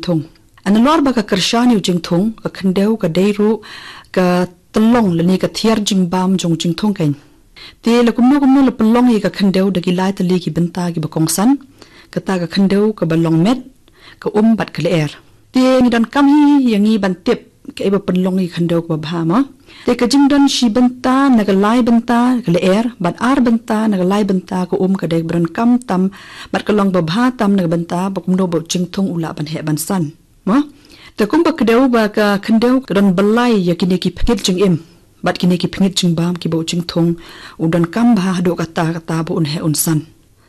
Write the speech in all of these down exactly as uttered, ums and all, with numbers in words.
Thung. Nalor ba ka kyrshan ïa u jingthung, ka khyndew ka dei ruh ka tyllong lane ka thiar jingbam jong u jingthung keiñ. Te la kumno kumno la pynlong ïa ka khyndew da ki lai tylli ki bynta kiba kongsan, kata ka khyndew kaba long met, ka um bad ka lyer. Te ngi donkam hi ïa ngi ban tip kaei ba pynlong ïa ka khyndew kaba bha mo. Te ka jingdon shi bynta na ka lai bynta ka lyer, bad ar bynta na ka lai bynta ka um ka dei kaba donkam tam, bad ka long ba bha tam na ka bynta ba kumno ba u jingthung u lah ban heh ban san. Mo? Te kumba kdew ba ka khyndew ka don byllai ïa kine ki pynïit jingim bad kine ki pynïit jingbam kiba u jingthung u donkam bha haduh katta katta ba un heh un san.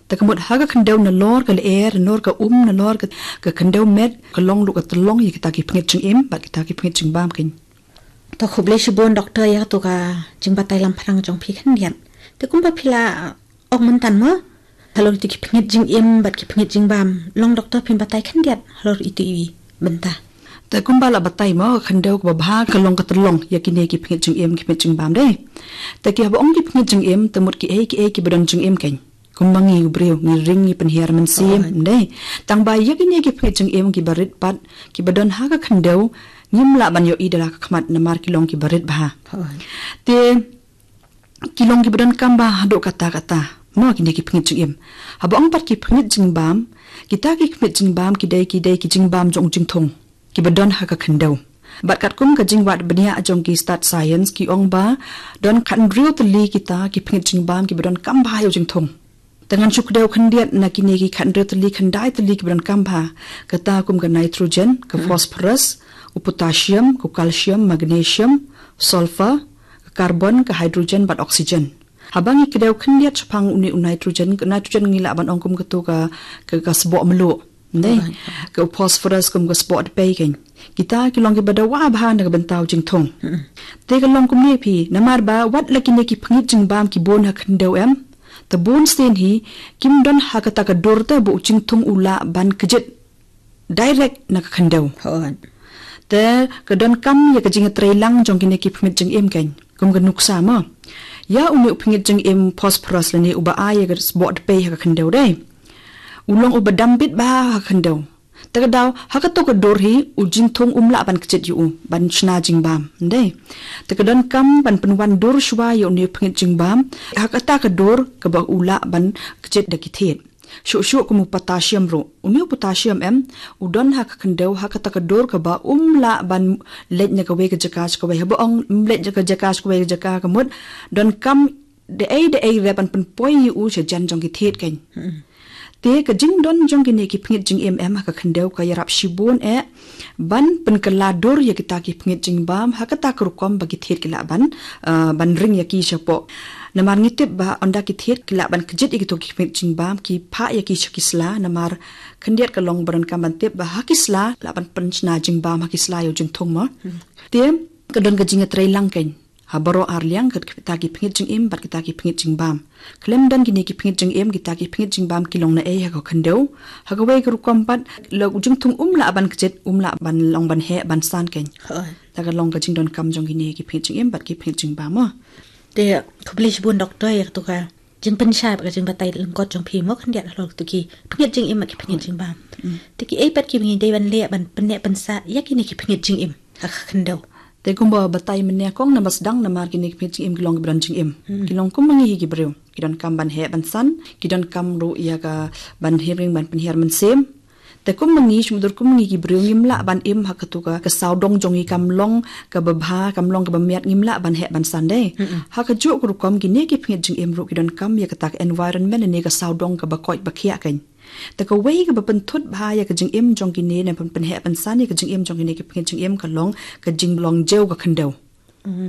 Te ka mut ha ka khyndew nalor ka lyer, nalor ka um, nalor ka, ka khyndew met, ka long ruh ka tyllong ïa kita ki pynïit jingim bad kita ki pynïit jingbam keiñ. To khublei shibun doktor ïa kato ka jingbatai lamphrang jong phi khyndiat. Te kumba phi la ong myntan mo, halor ito ki pynïit jingim bad ki pynïit jingbam, long doktor phin batai khyndiat halor ito i bynta. Te kumba la batai mo, ka khyndew kaba bha ka long ka tyllong ïa kine ki pynïit jingim ki pynïit jingbam dei. Te ki haba ong ki pynïit jingim te mut kiei kiei kiba don jingim keiñ. Kumba ngi u briew ngi ring ngi pynhiar mynsiem dei. Tang ba ïa kine ki pynïit jingim kiba rit pat kiba don ha ka khyndew ngim lah ban ïohi da la ka khmat namar ki long kiba rit bha. Te ki long kiba donkam bha haduh katta katta mo kine ki pynïit jingim. Haba ong pat ki pynïit jingbam, kita ki pynïit jingbam ki dei ki dei ki jingbam jong u jingthung kiba don ha ka khyndew. Bad katkum ka jingwad bniah jong ki stad science ki ong ba don khathynriew tylli kita ki pynïit jingbam kiba donkam bha ïa u jingthung. Te ngan shu kdew khyndiat na kine ki khathynriew tylli khyndai tylli kiba donkam bha, kata kum ka nitrogen, ka phosphorus, u potassium, ka calcium, magnesium, sulfur, ka carbon, ka hydrogen bad oxygen. Haba ngi kdew khyndiat shaphang une u nitrogen, ka nitrogen ngi lah ban ong kum kato ka, ka, ka sboh mluh. Dei, ka u phosphorus kum ka sboh dpei keiñ. Kita ki long kiba dawa bha na ka bynta u jingthung. Te ka long kumne phi, namar ba wat la kine ki pynïit jingbam ki bun ha khyndew em, te bun sien hi kim don ha kata ka dur te ba u jingthung u lah ban kjit direct na ka khyndew. Te ka donkam ïa ka jingïatreilang jong kine ki pynïit jingim keiñ. Kum ka nuksa mo. Ïa une u pynïit jingim phosphorus lane uba ai ïa ka sboh dpei ha ka khyndew dei. U long uba dam bit bha ha ka khyndew. Te ka daw ha kato ka dur hi u jingthung um lah ban kjit ïa u ban shna jingbam dei. Te ka donkam ban pynwan dur shuwa ïa une u pynïit jingbam ha kata ka dur kaba u lah ban kjit da ki thied. Shuh shuh kum u potassium ruh. Une u potassium em, u don ha ka khyndew ha kata ka dur kaba um lah ban leit na kawei ka jaka sha kawei. Haba ong um leit na ka jaka sha kawei ka jaka ka mut donkam da ei da ei re ban pynpoi ïa u sha jan jong ki thied keiñ. Te ka jingdon jong kine ki pynïit jingim em ha ka khyndew ka ïarap shibun eh ban pynkylla dur ïa kita ki pynïit jingbam ha kata ka rukom ba ki thied ki lah ban, ah, ban ring ïa ki shapoh. Namar ngi tip ba ynda ki thied ki lah ban kjit ïa kito ki pynïit jingbam ki phah ïa ki sha ki sla namar khyndiat ka long ba donkam ban tip ba ha ki sla lah ban pynshna jingbam ha ki sla ïa u jingthung mo. Te ka don ka jingïatreilang keiñ. Ha baroh ar liang ka kita ki pynïit jingim bad kita ki pynïit jingbam. Khlem don kine ki pynïit jingim kita ki pynïit jingbam ki long na ei ha ka khyndew. Ha kawei ka rukom pat la u jingthung um lah ban kjit um lah ban long ban heh ban san keiñ. Te ka long ka jingdonkam jong kine ki pynïit jingim bad ki pynïit jingbam mo. Te khublei shibun doktor ïa kato ka jingpynshai bad ka jingbatai lyngkot jong phi mo khyndiat halor kato ki pynïit jingim bad ki pynïit jingbam. Te kiei pat kiba ngi dei ban leh ban pynneh pynsah ïa kine ki pynïit jingim ha ka khyndew. Te kumba batai mynne kong namar sdang namar kine ki pynïit jingim ki long kiba don jingim. Ki long kum ma ngi hi ki briew. Ki donkam ban heh ban san, ki donkam ruh ïa ka ban hiar ring ban pynhiar mynsiem. Te kum ma ngi shu mutdur kum ma ngi ki briew ngim lah ban im ha kato ka, ka sawdong jong ngi kam long kaba bha, kam long kaba miat ngim lah ban heh ban san dei. Ha kajuh ka rukom kine ki pynïit jingim ruh ki donkam ïa kata ka environment ne ka sawdong kaba koit ba khiah keiñ. Te kawei kaba pynthut bha ïa ka jingim jong kine ne pyn-, pynheh pynsan ïa ka jingim jong kine ki pynheh jingim ka long ka jinglong jew ka khyndew.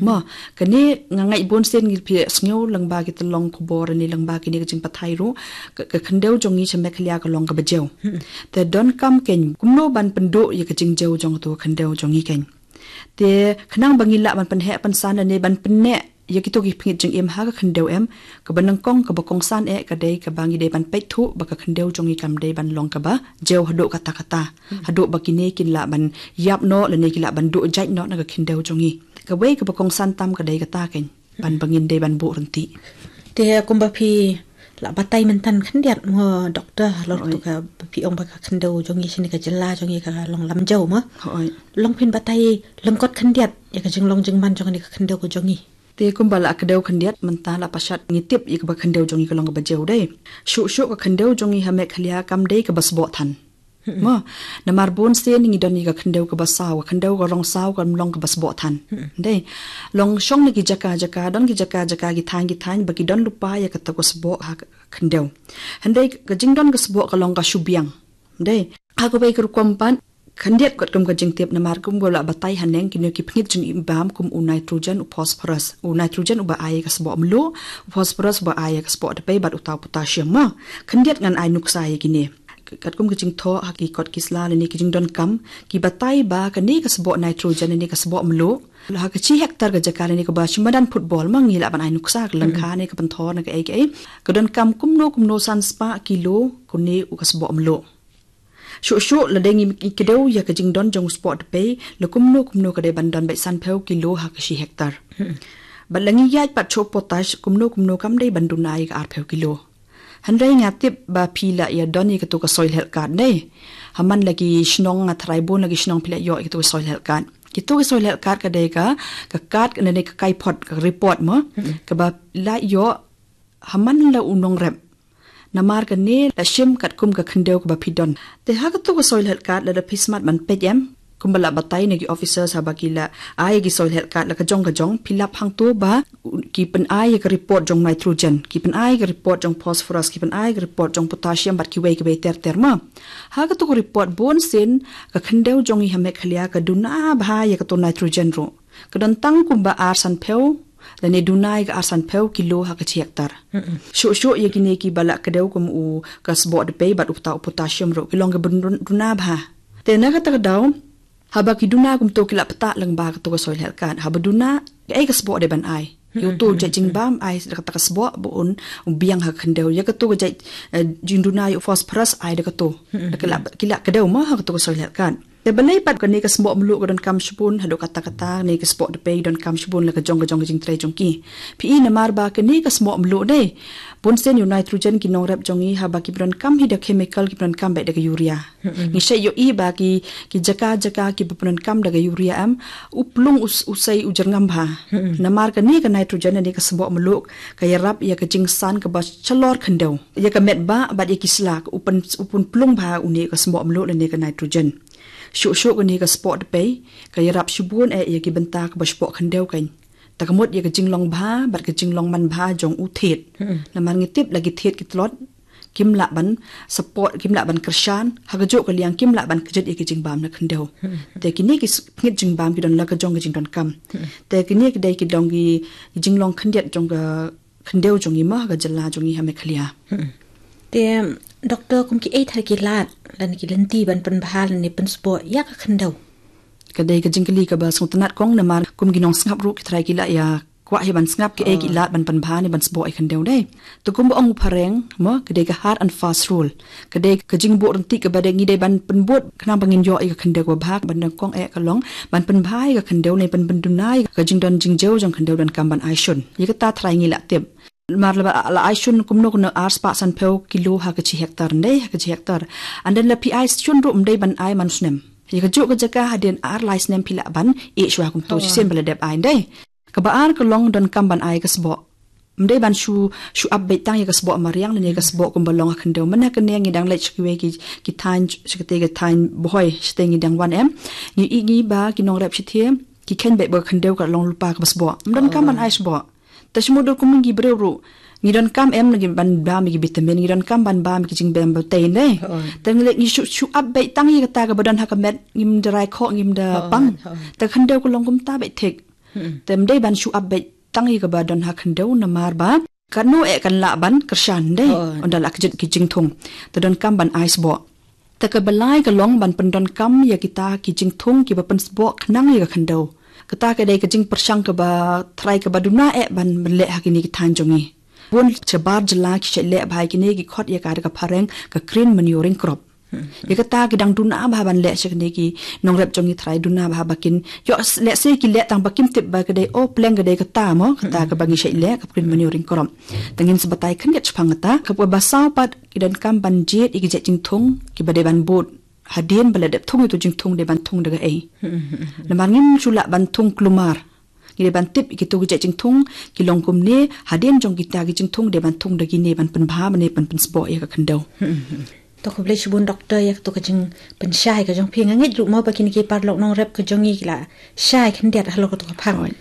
Ma, kane nga ngeit bun sien ngi phi sngew lyngba ki tyllong khubor ne lyngba kine ka jingpathai ruh ka, ka khyndew jong ngi sha Meghalaya ka long kaba jew. Te donkam keiñ kumno ban pynduh ïa ka jingjew jong kato ka khyndew jong ngi keiñ. Te khnang ba ngi lah ban pynheh pynsan ne ban pynneh ïa kito ki pynheh jingim ha ka khyndew em, kaba nyngkong kaba kongsan eh ka dei kaba ngi dei ban peit thuh ba ka khyndew jong ngi kam dei ban long kaba jew haduh katta katta. Haduh ba kine kin lah ban ïap noh lane kin lah ban duh jait noh na ka khyndew jong ngi. Kawei kaba kongsan tam ka dei kata keiñ ban ba ngin dei ban buh ryntih. Te kumba phi La batai mynta khyndiat mo, doktor, halor tu ka phi ong ba ka khyndew jong ngi shane ka jylla jong ngi ka long lamjau mo. Hooid. Long phin batai lyngkot khyndiat ïa ka jinglong jingman jong kane ka khyndew ka jong ngi. Te kumba la kdew khyndiat mynta la pashat ngi tip ïa kaba khyndew jong ngi ka long kaba jeu dei. Shuh shuh ka khyndew jong ngi ha Meghalaya kam dei kaba sboh than. Mo, namar bun sien ngi don ïa ka khyndew kaba saw, ka khyndew ka rong saw kam long kaba sboh than. Dei. Long shong na ki jaka jaka, don ki jaka jaka, ki thaiñ ki thaiñ ba ki don lypa ïa kata ka sboh ha ka khyndew. Hynrei ka jingdon ka sboh ka long ka shu biang. Dei. Ha kawei ka rukom pat khyndiat katkum ka jingtip namar kumba la batai haneng kine ki pynïap jingbam kum u nitrogen, u phosphorus. U nitrogen uba ai ka sboh mluh, u phosphorus uba ai ka sboh dpei bad uta u potassium mo. Khyndiat ngan ai nuksa ïa kine. Katkum ka jingthoh ha ki kot ki sla lane ki jingdonkam ki batai ba kane ka sboh nitrogen lane ka sboh mluh ha ka shi hektar ka jaka lane kaba shi madan football mo ngi lah ban ai nuksa ka lyngkha ne ka pynthor ne kaei kaei. Ka donkam kumno kumno san spah kilo kane u ka sboh mluh. Shuh shuh lada ngi kdew ïa ka jingdon jong u sboh dpei la kumno kumno ka dei ban don beit sanphew kilo ha ka shi hektar. Bad la ngi ïaid pat shuh potash kumno kumno kam dei ban duna ïa ka arphew kilo. Hynrei nga tip ba phi la ïa don ïa katu ka soil health card ne. Ha man la ki shnong nga tharai bun la ki shnong phi la ïoh ïa katu ka soil health card. Kitu ka soil health card ka dei ka, ka card ka dei ka kaiphod ka report mo. Kaba la ïoh ha man la u nongrep. Namar kane la shim katkum ka khyndew kaba phi don. Te ha katu ka soil health card lada phi smat ban peit em. Kumba la batai na ki officers haba ki la ai ki soil health card la ka jong ka jong phi lap hangto ba ki pynai ïa ka report jong nitrogen, ki pynai ïa ka report jong phosphorus, ki pynai ïa ka report jong potassium bad kiwei kiwei ter ter mo. Ha katu ka report bun sien ka khyndew jong ngi ha Meghalaya ka duna bha ïa katu nitrogen ruh. Ka don tang kumba ar sanphew lane duna ïa ka ar sanphew kilo ha ka shi hektar. Shuh shuh ïa kine kiba la kdew kum u ka sboh dpei bad uta u potassium ruh ki long kiba dun- duna bha. Te na kata ka daw haba ki duna kumto ki la pynthah lyngba katu ka soil health card. Haba duna kaei ka sboh dei ban ai. Ïa uto jait jingbam ai da kata ka sboh ba un biang ha ka khyndew. Ïa katu ka jait, eh, jingduna ïa u phosphorus ai da katu. Da ki la, ki la kdew mo ha katu ka soil health card. Te balei pat kane ka sboh mluh ka donkam shibun haduh katta katta ne ka sboh dpei donkam shibun la ka jong ka jong ka jingtrei jong ki. Phi i namar ba kane ka sboh mluh dei. Bun sien ïa u nitrogen ki nongrep jong ngi haba kiba donkam hi da chemical kiba donkam beit da ka urea. Ngi shait ïohi ba ki, ki jaka jaka kiba pyndonkam da ka urea em u plung u s- u sei u jyrngam bha. Namar kane ka nitrogen ne ka sboh mluh ka ïarap ïa ka jingsan kaba shalor khyndew. Ïa ka met ba bad ïa ki sla u pyn- u pynplung bha une ka sboh mluh ne ka nitrogen. Shuh shuh kane ka sboh dpei ka ïarap shibun eh ïa ki bynta kaba sboh khyndew kan. Ta ka mut ïa ka jinglong bha bad ka jinglong man bha jong u thied. Namar ngi tip la ki thied ki tlot kim lah ban support, kim lah ban kyrshan ha ka juh ka liang, kim lah ban kjit ïa ka jingbam na khyndew. Te kine ki s- pynïap jingbam ki don la ka jong ka jingdonkam. Te kine ki dei ki dong ki jinglong khyndiat jong ka khyndew jong ngi mo ha ka jylla jong ngi ha Meghalaya. Te doktor, kum kiei thar ki lad lane ki lynti ban pynbha lane pynsboh ïa ka khyndew? Ka dei ka jingkylli kaba sngewtynnat kong namar kum ki nongsngap ruh ki trai ki la ïa kwah hi ban sngap kiei ki lad ban pynbha ne ban sboh ïa ka khyndew dei. Te kumba ong u phareng mo ka dei ka hard and fast rule. Ka dei ka jingbuh ryntih kaba dei ngi dei ban pynbud khnang ba ngin ïoh ïa ka khyndew kaba bha. Ban nyngkong eh ka long ban pynbha ïa ka khyndew ne ban pynduna ïa ka jingdon jingjeu jong khyndew donkam ban ai shun. Ïa kata trai ngi la tip. Mar la ba la ai shun kumno kumno ar spah sanphew kilo ha ka shi hektar dei ha ka shi hektar. And then la phi ai shun ruh ym dei ban ai man snem. Ïa ka juh ka jaka hadien ar lai snem phi lah ban ïeh shuwa kumto shisien ba la dep ai dei. Kaba ar ka long donkam ban ai ka sboh. Ym dei ban shu shu ap beit tang ïa ka sboh mariang lane ka sboh kumba long ha khyndew. Mynne kane ngi dang leit sha kiwei ki ki thaiñ sha kate ka thaiñ Bhoi shatei ngi dang wan em. Ngi i ngi ba ki nongrep shatei ki kheiñ beit ba ka khyndew ka long lypa kaba sboh. Ym donkam ban ai sboh. Te shu mut dur kum ngi briew ruh ngi donkam em ngi ban bam ïa ki vitamin, ngi donkam ban bam ïa ki jingbam ba tei ne. Te ngi leit ngi shu shu ap beit tang ïa kata kaba don ha ka met ngim da rai khoh ngim da pang. Te khyndew ka long kumta beit thik. Te ym dei ban shu ap beit tang ïa kaba don ha khyndew namar ba kano eh kan lah ban kyrshan dei. Ynda la kjit ki jingthung te donkam ban ai sboh. Te kaba lai ka long ban pyndonkam ïa kita ki jingthung kiba pynsboh khnang ïa ka khyndew. Kata ka dei ka jingpyrshang kaba trai kaba duna eh ban leh ha kine ki thaiñ jong ngi. Bun shabar jylla ki shait leh bha ïa kine ki khot ïa ka da ka phareng ka green manuring crop. Ïa kata ki dang duna bha ban leh sha kine ki nongrep jong ngi, tharai duna bha ba kin ïoh leh se ki leh tang ba kim tip ba ka dei, oh, pleng ka dei kata mo, kata kaba ngi shait leh ka Green Manuring Crop. Te ngin sa batai khyndiat shaphang kata. Kaba saw pat, ki donkam ban jied ïa ki jait jingthung kiba dei ban bud. Hadien ba la dep thung ïa uto u jingthung, dei ban thung da kaei? Namar ngim shu lah ban thung kulmar. Ngi dei ban tip ïa kito ki jait jingthung ki long kumne, hadien jong kita ki jingthung dei ban thung da kine ban pynbha bad ban pynsboh ïa ka khyndew. To khublei shibun Doctor ïa kato ka jingpynshai ka jong phi. Nga ngeit ruh mo ba kine ki paralok nongrep ka jong ngi ki la shai khyndiat halor kato ka phang. Oi.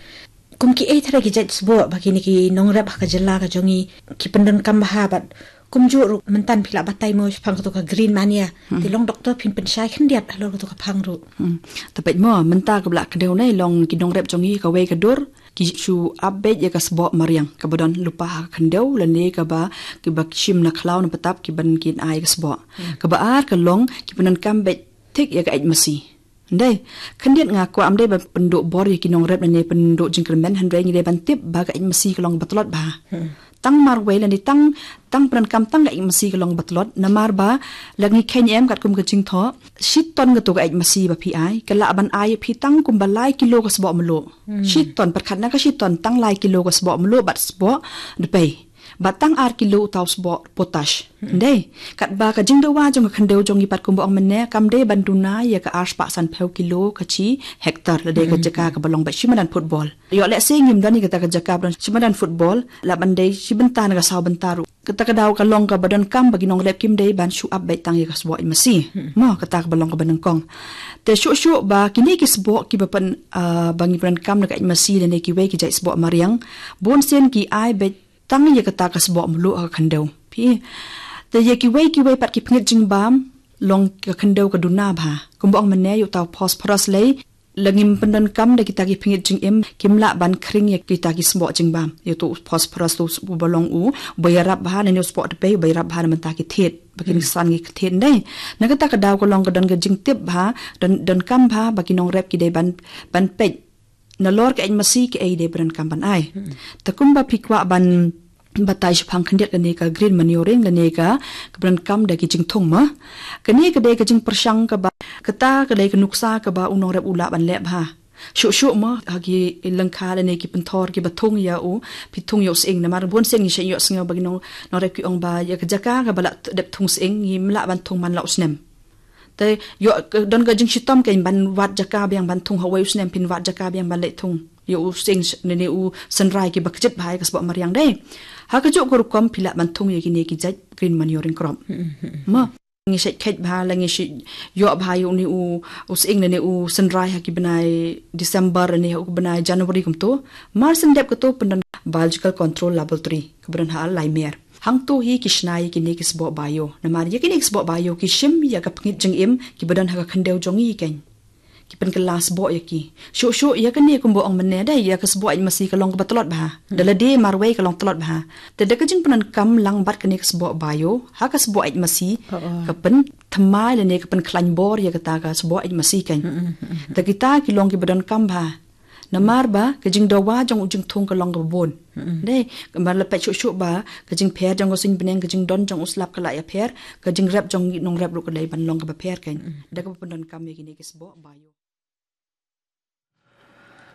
Kum kiei tharai ki jait sboh ba kine ki nongrep ha ka jylla ka jong ngi ki pyndonkam bha bad kumjuh ruh mynta phi la batai mo shaphang kato ka Green Mania. Hmm. Te long Doctor phin pynshai khyndiat halor kato ka phang ruh. Hmm. Te peit mo, mynta kaba la kdew ne long ki nongrep jong ngi kawei ka dur ki shu ap beit ïa ka sboh mariang kaba don lypa ha ka khyndew lane kaba, kiba shim na khlaw na btap kiban kin ai ka sboh. Hmm. Kaba ar ka long ki pyndonkam beit thik ïa ka eit masi. Ndei, khyndiat nga kwah ym dei ban pynduh bor ïa ki nongrep lane pynduh jingkyrmen, hynrei ngi dei ban tip ba ka eit masi ka long ba tlot bha. Hmm. Tang marwei lane tang, tang pyndonkam tang ka eit masi ka long ba tlot, namar ba la ngi kheiñ em katkum ka jingthoh, shi ton kato ka eit masi ba phi ai, ka lah ban ai phi tang kumba lai kilo ka sboh mluh. Hmm. Shi ton, pyrkhat na ka shi ton, tang lai kilo ka sboh mluh bad sboh dpei. Bad tang ar kilo uta u sboh potash. Hmm. Ndei, katba ka jingdawa jong ka khyndew jong ngi pat kumba ong mynne, kam dei ban duna ïa ka ar spah sanphew kilo ka shi hektar, lada ka jaka kaba long beit shi madan football. Ïoh lehse ngim don ïa kata ka jaka ba don shi madan football, lah ban dei shi bynta ne ka saw bynta ruh. Kata ka daw ka long kaba donkam ba ki nongrep kim dei ban shu ap beit tang ïa ka sboh eit masi. Hmm. Mo, kata kaba long kaba nyngkong. Te shuh shuh ba kine ki sboh kiba pyn, ah, ba ngi pyndonkam na ka eit masi lane kiwei ki jait sboh mariang, bun sien ki ai beit tang ïa kata ka sboh mluh ha ka khyndew. Phi. Te ïa kiwei kiwei pat ki pynïit jingbam, long ka khyndew ka duna bha. Kumba ong mynne ïa uta u phosphorus lei, la ngim pyndonkam da kita ki pynïit jingim, kim lah ban khring ïa kita ki sboh jingbam. Ïa uto u phosphorus to uba long u, uba ïarap bha, lane u sboh dpei, uba ïarap bha na bynta ki thied. Ba kin san ki thied ndei. Na kata ka daw ka long ka don ka jingtip bha, don, donkam bha, ba ki nongrep ki dei ban, ban peit nalor ka eit masi kaei dei ba donkam ban ai. Hmm. Te kumba phi kwah ban batai shaphang khyndiat kane ka green manuring lane ka, ka ba donkam da ki jingthung mo. Kane ka dei ka jingpyrshang kaba, kata ka dei ka nuksa kaba u nongrep u lah ban leh bha. Shuh shuh mo, ha ki lyngkha lane ki pynthor kiba thung ïa u, phi thung ïa u sying, namar bun sien ngi shait ïohsngew ba ki nong, nongrep ki ong ba ïa ka jaka kaba la dep thung sying, ngim lah ban thung man la u snem. Te ïoh, ka, don ka jingshitom kein ban wad jaka biang ban thung ha uwei u snem, phin wad jaka biang ban leit thung ïa u sying sh-, ne, ne u synrai kiba kjit bha ïa ka sboh mariang dei. Ha kajuh ka rukom phi lah ban thung ïa kine ki jait green manuring crop. Hmm, hmm, hmm. Mo, ngi shait kheit bha la ngi shait ïoh bha ïa une u, u sying ne, ne u synrai ha ki bnai December ne ha u bnai January kumto. Mar shen dep kato pyndon biological control laboratory kaba don ha Laimer. Hangto hi ki shna ïa kine ki sboh bio. Namar ïa kine ki sboh bio ki shim ïa ka pynïit jingim kiba don ha ka khyndew jong ngi kein. Ki pynkylla sboh ïa ki. Shuh shuh ïa kane kumba ong mynne dei ïa ka sboh eit masi ka long kaba tlot bha. Hmm. Da lade marwei ka long tlot bha. Te da ka jingpyndonkam lang bad kane ka sboh bio, ha ka sboh eit masi, oh, oh, ka pynthymmai lane ka pynkhlaiñ bor ïa kata ka sboh eit masi kein. Hmm, hmm, hmm, hmm. Te kita ki long kiba donkam bha. Namar ba ka jingdawa jong u jingthung ka long kaba bun. Hmm. Dei, namar la peit shuh shuh ba ka jingpher jong ka suiñ bneng, ka jingdon jong u slap ka la ïapher, ka jingrep jong ngi nongrep ruh ka dei ban long kaba pher kein. Hmm. Da kaba pyndonkam ïa kine ki sboh bio.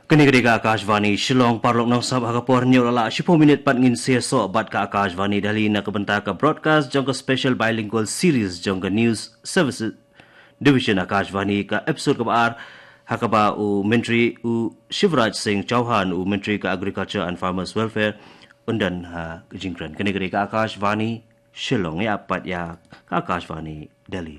Kane ka dei ka Akashvani Shillong, paralok nongsngap, ha ka por hynñiew la lah shiphew minit pat ngin sa ïasoh bad ka Akashvani Delhi na ka bynta ka broadcast jong ka special bilingual series jong ka News Services Division Akashvani, ka episode kaba ar, ha kaba u Myntri u Shivraj Singh Chouhan, u Myntri ka Agriculture and Farmers Welfare, un don ha ka jingkren. Kane ka dei ka Akashvani Shillong, ïa pat ïa ka Akashvani Delhi.